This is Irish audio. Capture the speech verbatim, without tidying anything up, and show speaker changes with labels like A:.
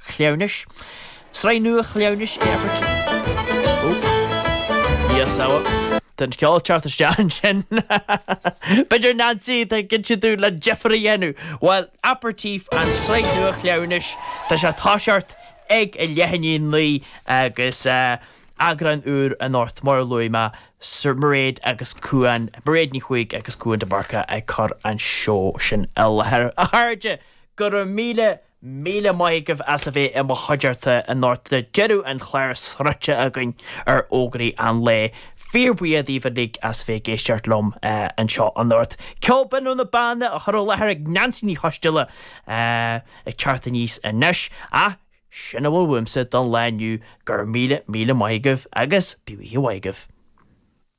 A: Chleamhnais. Sraith nua Chleamhnais Yes Tá an ceol teacht isteach ansin. B'fhéidir Nancy tá cinnte tú le difear a dhéanamh. Well Aperitif an sraith nua Chleamhnais Tá sé ag toiseacht ag a leath i ndiaidh a naoi agus eagrán úr anocht mar a luaigh mé Sir Mairéad agus Cuan, Mairéad Ní Chuaig agus Cuan de Búrca ag cur an seó sin i láthair. A chairde, go raibh míle míle maith agaibh as a bheith i mo chuideachta anocht le deireadh an chláir sroichte againn ar fhógraí an lae. Fíorbhuíoch daoibh uilig as a bheith ag éisteacht liom anseo anocht. Ceol binn ó na Beanna á chur i láthair ag Neansaí Ní Choisdealbha ag teacht aníos anois. Ach sin a bhfuil uaimse don lá inniu, go raibh míle míle maith agaibh agus bíodh oíche mhaith agaibh.